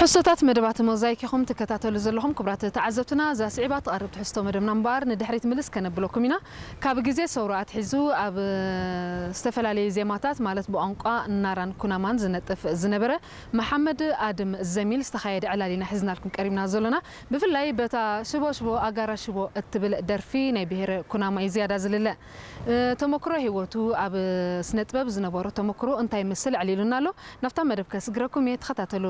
ሕሶታት መደባት ሞዛይክ ኢኹም ትከታተሉ ዘለኹም። ክቡራት ተዓዘብትና፣ እዛ ስዒባ ትቐርብ ትሕዝቶ መደብና እምበኣር ንድሕሪት ምልስ ከነብለኩም ኢና። ካብ ግዜ ሰውራ ኣትሒዙ ኣብ ዝተፈላለዩ ዜማታት፣ ማለት ብቋንቋ ናራን ኩናማን ዝነጥፍ ዝነበረ መሓመድ ኣድም ዘሚል ዝተኻየደ ዕላል ኢና ሒዝናልኩም ቀሪብና ዘሎና። ብፍላይ በታ ሽቦ ሽቦ ኣጋራ ሽቦ እትብል ደርፊ ናይ ብሄረ ኩናማ እዩ ዝያዳ ዝልለ። ተመክሮ ህይወቱ፣ ኣብ ስነ ጥበብ ዝነበሮ ተመክሮ እንታይ ይመስል ኣዕሊሉና ኣሎ። ናብታ መደብ ከስግረኩም እየ፣ ተኸታተሉ።